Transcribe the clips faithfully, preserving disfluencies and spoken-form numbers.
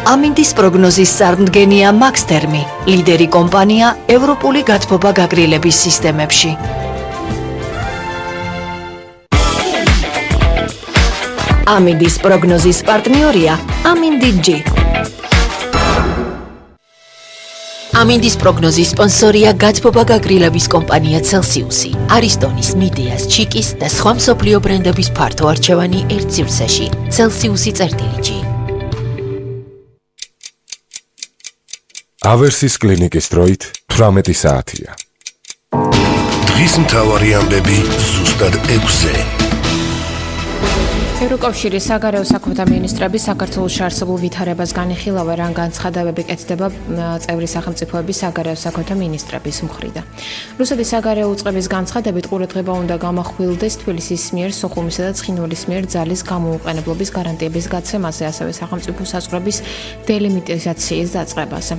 ამინდის პროგნოზის წარმდგენია მაქსთერმი, ლიდერი კომპანია ევროპული გათბობა გაგრილების სისტემებში. ამინდის პროგნოზის პარტნიორია ამინდი-G. ამინდის პროგნოზის სპონსორია გათბობა გაგრილების კომპანია Celsius-ი, არისტონის, მიდეას, ჩიკის და სხვა მსოფლიო ბრენდების ფართო არჩევანი ერთ სივრცეში. Celsius-ი წერტილი-G. ავერსის კლინიკის დროით თვრამეტი საათია. დღის მთავარი ამბები ზუსტად ექვსზე. ევროკავშირის საგარეო საქმეთა მინისტრები საქართველოში არსებულ ვითარებას განიხილავენ, რან განცხადებები კეთდება წევრი სახელმწიფოების საგარეო საქმეთა მინისტრების მხრიდან. რუსეთის საგარეო უწყების განცხადებით ყურადღება უნდა გამახვილდეს თბილისის მიერ სოხუმისა და ცხინვალის მიერ ძალის გამოუყენებლობის გარანტიების გაცემაზე, ასევე სახელმწიფო საზღვრების დელიმიტიზაციის დაწყებაზე.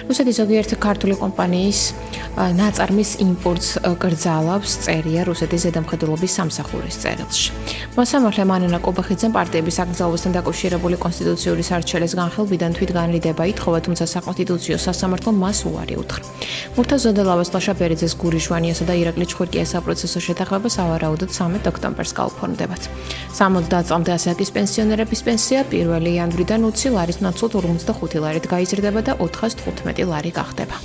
რუსეთის ზოგიერთი ქართული კომპანიის ნაწარმის იმპორტს კრძალავს, წერია რუსეთის ზედამხედველობის სამსახურის წერილში. მოსამართლე მანენა კობახიძემ პარტიების აკრძალვასთან დაკავშირებული კონსტიტუციური სარჩელის განხილვიდან თვითგანრიდება ითხოვა, თუმცა საკონსტიტუციო სასამართლომ მას უარი უთხრა. მურთაზ ზოდელავას, ლაშა ბერიძეს, გური ჟვანიასა და ირაკლი ჩხურკიას საპროცესო შეთანხმება სავარაუდოდ სამი ოქტომბერს გაუფორმდებათ. სამოცდაათ წლამდე ასაკის პენსიონერების პენსია პირველი იანვრიდან ოცი ლარის ნაცვლად ორმოცდახუთი ლარით გაიზრდება და ოთხას თხუთმეტი ლარი გახდება.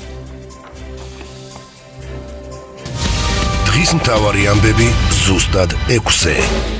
დღის მთავარი ამბები ზუსტად ექვსზე.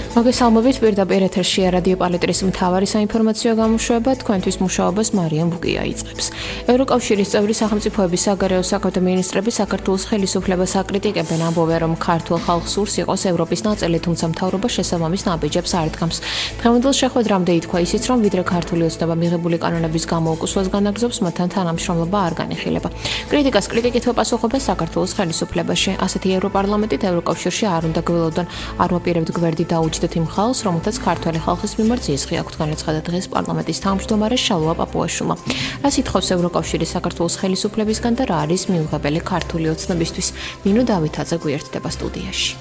მოგესალმებით, პირდაპირ ეთერშია რადიო პალეტრის მთავარი საინფორმაციო გამოშვება, თქვენთვის მუშაობას მარიამ ბუკია იწყებს. ევროკავშირის წევრი სახელმწიფოების საგარეო საქმეთა მინისტრები საქართველოს ხელისუფლებას აკრიტიკებენ, ამბობენ, რომ ქართულ ხალხს სურს იყოს ევროპის ნაწილი, თუმცა მთავრობა შესაბამის ნაბიჯებს არ დგამს. დღევანდელ შეხვედრამდე ითქვა ისიც, რომ ვიდრე ქართული ოცნება მიღებული კანონების გამოუკუსვას განაგრძობს, მათთან თანამშრომლობა არ განიხილება. კრიტიკას კრიტიკით პასუხობენ საქართველოს ხელისუფლებაში. ასეთი ევროპარლამენტით ევროკავშირში არ უნდა გველოდონ, არ ვაპირებთ გვერდი დაუჯდეთ იმ ხალხს, რომელთაც ქართველი ხალხის მიმართ ზიზღი აქვთ, განაცხადა დღეს პარლამენტის თავმჯდომარე შალვა პაპუაშვილმა. რას ითხოვს ევროკავშირის საქართველოს ხელისუფლებისგან და რა არის მიუღებელი ქართული ოცნებისთვის? ნინო დავითაძე გვერდდება სტუდიაში.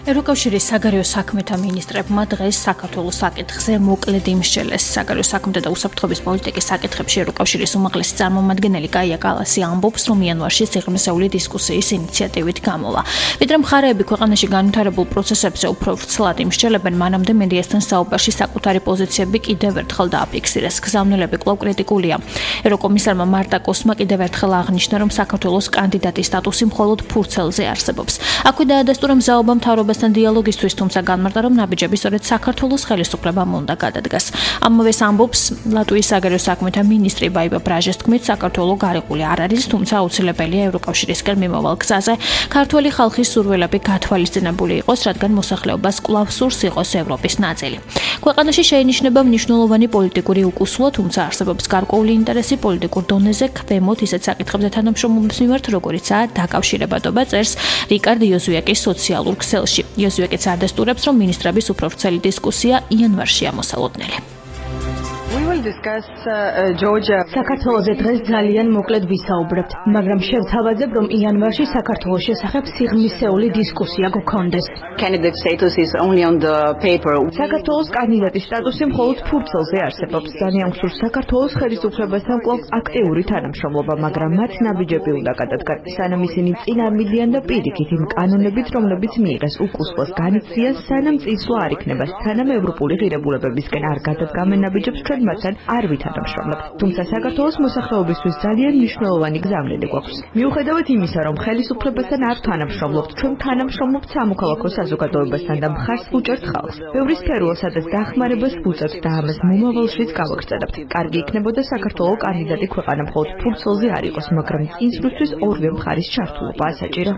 ევროკავშირის საგარეო საქმეთა მინისტრებმა დღეს საქართველოს საკითხზე მოკლედ იმსჯელეს. საგარეო საქმეთა და უსაფრთხოების პოლიტიკის საკითხებში ევროკავშირის უმაღლესი წარმომადგენელი კაია კალასი ამბობს, რომ იანვარში სიღრმისეული დისკუსიის ინიციატივით გამოვა. ვიდრე მხარეები ქვეყანაში განვითარებულ პროცესებზე უფრო ვრცლად იმსჯელებენ, მანამდე მედიასთან საუბარში საკუთარი პოზიციები კიდევ ერთხელ დააფიქსირეს. გზავნილები კვლავ კრიტიკულია. ევროკომისარმა მარტა კოსმა კიდევ ერთხელ აღნიშნა, რომ საქართველოს კანდიდატის სტატუსი მხოლოდ ფურცელზე არსებობს. აქვე დაადასტურა მზაობა მთავრობასთან დიალოგისთვის, თუმცა განმარტა, რომ ნაბიჯები სწორედ საქართველოს ხელისუფლებამ უნდა გადადგას. ამავეს ამბობს ლატვიის საგარეო საქმეთა მინისტრი ბაიბა ბრაჟეს თქმით, საქართველო გარიყული არ არის, თუმცა აუცილებელია ევროკავშირისკენ მიმავალ გზაზე ქართველი ხალხის სურვილები გათვალისწინებული იყოს, რადგან მოსახლეობას კვლავ სურს იყოს ევროპის ნაწილი. ქვეყანაში შეინიშნება მნიშვნელოვანი პოლიტიკური უკუსვლა, თუმცა არსებობს გარკვეული ინტერესი პოლიტიკურ დონეზე ქვემოთ ისეთ საკითხებზე თანამშრომლობის მიმართ, როგორიცაა დაკავშირებადობა, წერს რიკარდ იოზუაკის სოციალურ ქსელში. იოზუაკიც ადასტურებს, რომ მინისტრების უფრო ვრცელი დისკუსია იანვარშია მოსალოდნელი. საქართველოზე დღეს ძალიან მოკლედ ვისაუბრებთ, მაგრამ შევთავაზებ, რომ იანვარში საქართველოს შესახებ სიღრმისეული დისკუსია გქონდეს. საქართველოს კანდიდატის სტატუსი მხოლოდ ფურცელზე არსებობს. ძალიან გსურს საქართველოს ხელისუფლებასთან კვლავ აქტიური თანამშრომლობა, მაგრამ მათ ნაბიჯები უნდა გადადგან, სანამ ისინი წინ არ მიდიან და პირიქით იმ კანონებით, რომლებიც მიიღეს უკუსვას განიცდიან, სანამ წინსვლა არ იქნება, სანამ ევროპული ღირებულებებისკენ არ გადადგამენ ნაბიჯებს, ჩვენ მათთან არ ვითანამშრომლებთ. თუმცა საქართველოს მოსახლეობისთვის ძალიან მნიშვნელოვანი გზავნილი გვაქვს. მიუხედავად იმისა, რომ ხელისუფლებასთან არ თანამშრომლობთ, ჩვენ თანამშრომლობთ სამოქალაქო საზოგადოებასთან და მხარს ვუჭერთ ხალხს. ბევრი სფეროა, სადაც დახმარებას ვუწევთ და ამას მომავალშიც გავაგრძელებთ. კარგი იქნებოდა საქართველოს კანდიდატი ქვეყანა მხოლოდ ფურცელზე არ იყოს, მაგრამ წინსვლისთვის ორივე მხარის ჩართულობაა საჭირო.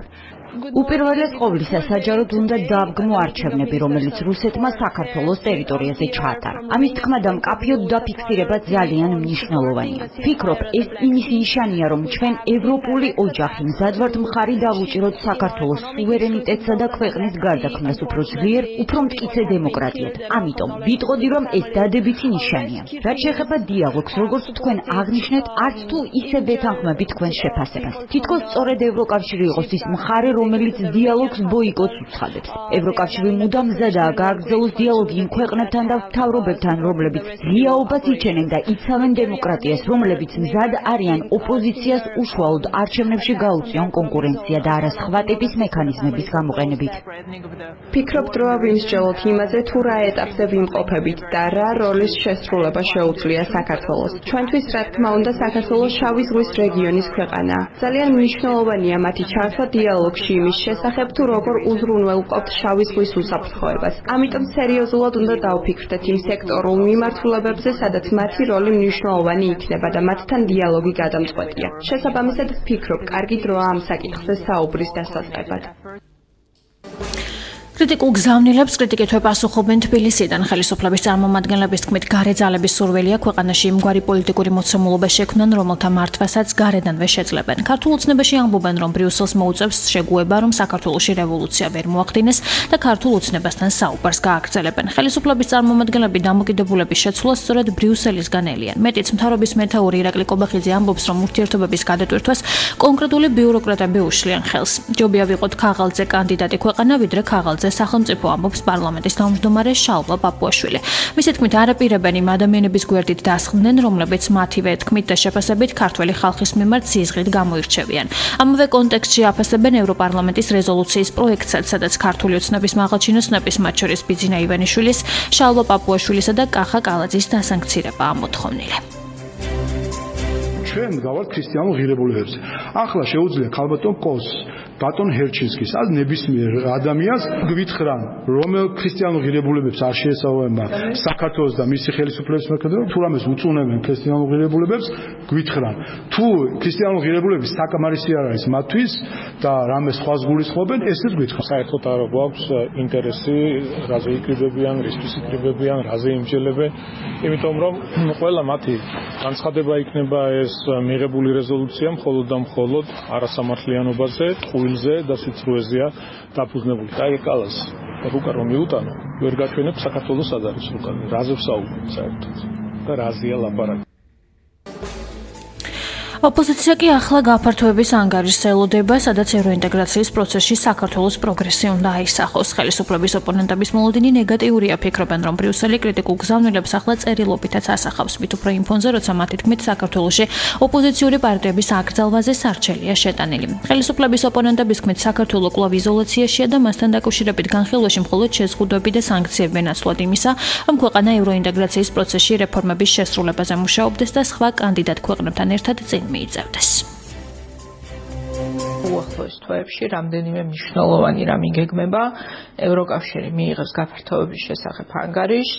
უპირველეს ყოვლისა საჯაროდ უნდა დააბგმო არჩევნები, რომელიც რუსეთმა საქართველოს ტერიტორიაზე ჩაატარა. ამის თქმა და მკაფიოდ დაფიქსირება ძალიან მნიშვნელოვანია. ვფიქრობ, ეს იმის ნიშანია, რომ ჩვენ ევროპული ოჯახი მზად ვართ მხარი დავუჭიროთ საქართველოს სუვერენიტეტსა და ქვეყნის გარდაქმნას უფრო ძლიერ, უფრო მტკიცე დემოკრატიად. ამიტომ ვიტყოდი, რომ ეს დადებითი ნიშანია. რაც შეეხება დიალოგს, როგორც თქვენ აღნიშნეთ, არც თუ ისე ვეთანხმები თქვენს შეფასებას. თითქოს სწორედ ევროკავშირი იყოს ის მხარე, რომელიც დიალოგს ბოიკოტს უცხადებს. ევროკავშირი მუდამ მზადაა გააგრძელოს დიალოგი იმ ქვეყნებთან და მთავრობებთან, რომლებიც ღიაობას იჩენენ და იცავენ დემოკრატიას, რომლებიც მზად არიან ოპოზიციას უშუალოდ არჩევნებში გაუწიონ კონკურენცია და არა სხვა ტიპის მექანიზმების გამოყენებით. ფიქრობთ, რომ ვიმსჯელოთ იმაზე, თუ რა ეტაპზე ვიმყოფებით და რა როლის შესრულება შეუძლია საქართველოს. ჩვენთვის, რა თქმა უნდა, საქართველოს შავი ზღვის რეგიონის ქვეყანაა. ძალიან მნიშვნელოვანია მათი ჩართვა დიალოგში იმის შესახებ, თუ როგორ უზრუნველყოფთ შავი ზღვის უსაფრთხოებას. ამიტომ სერიოზულად უნდა დავფიქრდეთ იმ სექტორულ მიმართულებებზე, სადაც მათი როლი მნიშვნელოვანი იქნება და მათთან დიალოგი გადამწყვეტია. შესაბამისად, ვფიქრობ, კარგი დროა ამ საკითხზე საუბრის დასაწყებად. კრიტიკულ გზავნილებს კრიტიკით ეპასუხობენ თბილისიდან. ხელისუფლების წარმომადგენლების თქმით, გარე ძალების სურვილია ქვეყანაში იმგვარი პოლიტიკური მოცემულობა შექმნან, რომელთა მართვასაც გარედანვე შეძლებენ. ქართულ ოცნებაში ამბობენ, რომ ბრიუსელს მოუწევს შეგუება, რომ საქართველოში რევოლუცია ვერ მოახდინეს და ქართულ ოცნებასთან საუბარს გააგრძელებენ. ხელისუფლების წარმომადგენლები დამოკიდებულების შეცვლას სწორედ ბრიუსელისგან ელიან. მეტიც, მთავრობის მეთაური ირაკლი კობახიძე ამბობს, რომ ურთიერთობების გადატვირთვას კონკრეტული ბიუროკრატები უშლიან ხელს. ჯობია ვიყოთ ქაღალდზე კანდიდატი ქვეყანა, ვიდრე ქაღალდზე სახელმწიფო, ამბობს პარლამენტის თავმჯდომარე შალვა პაპუაშვილი. მისი თქმით, არაპირებენ იმ ადამიანების გვერდით დასხდნენ, რომლებიც მათივე თქმით და შეფასებით ქართველი ხალხის მიმართ სიზღით გამოირჩევიან. ამავე კონტექსტში აფასებენ ევროპარლამენტის რეზოლუციის პროექტსაც, სადაც ქართული ოცნების მაღალჩინოსნების, მათ შორის ბიძინა ივანიშვილის, შალვა პაპუაშვილისა და კახა კალაძის დასანქცირება ამოთხოვნილი. ჩვენ გავართ ქრისტიანულ ღირებულებებზე. ახლა შეუძლია ქალბატონ კოს, ბატონ ჰერჩინსკის, ან ნებისმიერ ადამიანს გვითხრან, რომელ ქრისტიანულ ღირებულებებს არ შეესაბამება საქართველოს და მისი ხელისუფლების მექანიზმები, თუ რამეს უწუნებენ ქრისტიანულ ღირებულებებს, გვითხრან. თუ ქრისტიანულ ღირებულების საკმარისი არ არის მათთვის და რამეს სხვას გულისხმობენ, ესეც გვითხრან. საერთოდ არ გვაქვს ინტერესი, რაზე იკრიბებიან, რისთვის იკრიბებიან, რაზე იმჯელებენ, იმიტომ რომ ყველა მათი განცხადება იქნება ეს მიღებული რეზოლუცია მხოლოდ და მხოლოდ არასამართლიანობაზე, ყუილზე და სიცრუეზეა დაფუძნებული. აი კალას რუკა რომ მიუტანო, ვერ გაჩვენებ საქართველოს სად არის რუკა, რაზე ვსაუბრობ საერთოდ და რაზეა ლაპარაკი. ოპოზიცია კი ახლა გაფართოების ანგარიშს ელოდება, სადაც ევროინტეგრაციის პროცესში საქართველოს პროგრესი უნდა აისახოს. ხელისუფლების ოპონენტების მოლოდინი ნეგატიურია, ფიქრობენ, რომ ბრიუსელი კრიტიკულ გზავნილებს ახლა წერილობითაც ასახავს, მით უფრო იმ ფონზე, როცა მათი თქმით საქართველოში ოპოზიციური პარტიების აკრძალვაზე სარჩელია შეტანილი. ხელისუფლების ოპონენტების თქმით, საქართველო კვლავ იზოლაციაშია და მასთან დაკავშირებით განხილვაში მხოლოდ შეზღუდვები და სანქციები ნაცვლად იმისა, რომ ქვეყანა ევროინტეგრაციის პროცესში რეფორმების შესრულებაზე მუშაობდეს და სხვა კანდიდატ ქვეყნებთან ერთად წინ მიიწევდეს. უახლოეს თვეებში რამდენიმე მნიშვნელოვანი რამ იგეგმება. ევროკავშირი მიიღებს გაფართოების შესახებ ანგარიშს,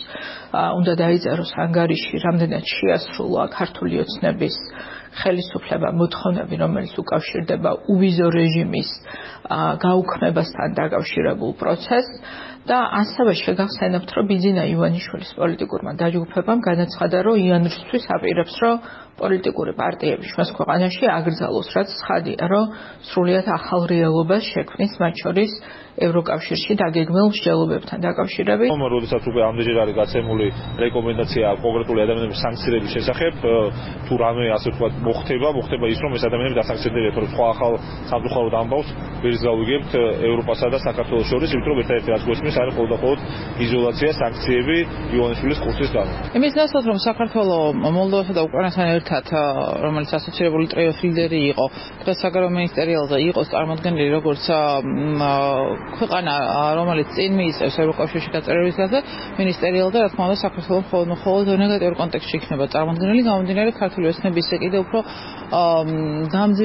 უნდა დაიწეროს ანგარიში, რამდენად შეასრულა ქართული ოცნების ხელისუფლება მოთხოვნები, რომელიც უკავშირდება უვიზო რეჟიმის გაუქმებასთან დაკავშირებულ პროცესს და ასევე შეგახსენებთ, რომ ბიძინა ივანიშვილის პოლიტიკურმა დაჯგუფებამ განაცხადა, რომ იანვრისთვის აპირებს, რომ პოლიტიკური პარტიები ჩვენს ქვეყანაში აკრძალოს, რაც ცხადია, რომ სრულიად ახალ რეალობას შექმნის, მათ შორის ევროკავშირში დაგეგმილ მსჯელობებთან დაკავშირებით. როდესაც უკვე ამდენჯერ არის გაცემული რეკომენდაცია კონკრეტული ადამიანების სანქციების შესახებ, თუ რამე ასე ვთქვათ მოხდება, მოხდება ის, რომ ეს ადამიანები დასანქცირდებიან, თორემ სხვა ახალ სამწუხაროდ ამბავს ვერც გავიგებთ ევროპასა და საქართველოს შორის, იმიტომ რომ ერთადერთი რაც გვესმის არის მხოლოდ და მხოლოდ იზოლაცია, სანქციები ივანიშვილის კურსის გამო. იმის ნაცვლად, რომ საქართველო მოლდოვასა და უკრაინასთან ერთად, რომელიც ასოცირებული ტრიოს ლიდერი იყო, დღეს საგარეო მინისტერიალზე იყოს წარმოდგენილი როგორც ქვეყანა, რომელიც წინ მიიწევს ევროკავშირში გაწერების გაზეთ, მინისტერიალზე, რა თქმა უნდა, საქართველოს მხოლოდ მხოლოდ ნეგატიურ კონტექსტში იქნება წარმოდგენილი, გამომდინარე ქართული ოცნების კიდევ უფრო